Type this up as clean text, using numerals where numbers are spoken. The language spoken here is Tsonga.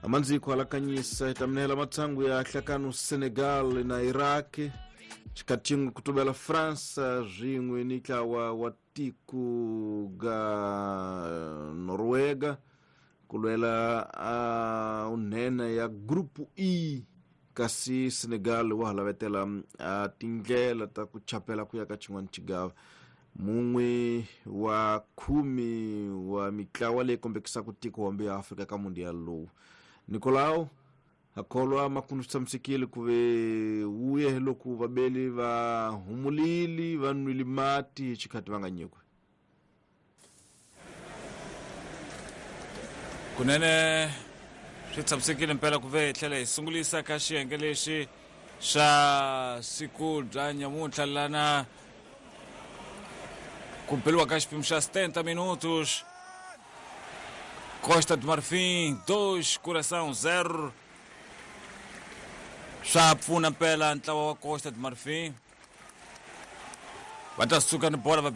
Amandziko alakanyisa hi ta minehela matsangu ya hlakano Senegal na Iraq xikhathi xin'we ku tuvela Fransa swin'we ni ntlawa wa tiko ga Norwega ku lwela a unhena ya Group E kasi Senegal wa ha lavetela a tindlela ta ku chapela ku ya ka xin'wana xigava. Mun'we wa khumi wa mitlawa leyi kombekisaka tiko hombe ya Afrika ka mundial lowu. Nicolau a kholwa makundu swi tshamisekile ku ve wuye loko vabeli va humulile va nwile mati hi xikhathi va nga nyikiwi. Kunene swi tshamisekile mpela ku ve hi tlhela hi sungulisa ka xiyenge lexi xa siku bya nyamuntlha lana ku beliwa ka xiphemu xa 70 minutos. Costa do Marfim 2, Coração 0. Swa pfuna mpela ntlawa wa Costa do Marfim. Va ta suka ni bola va.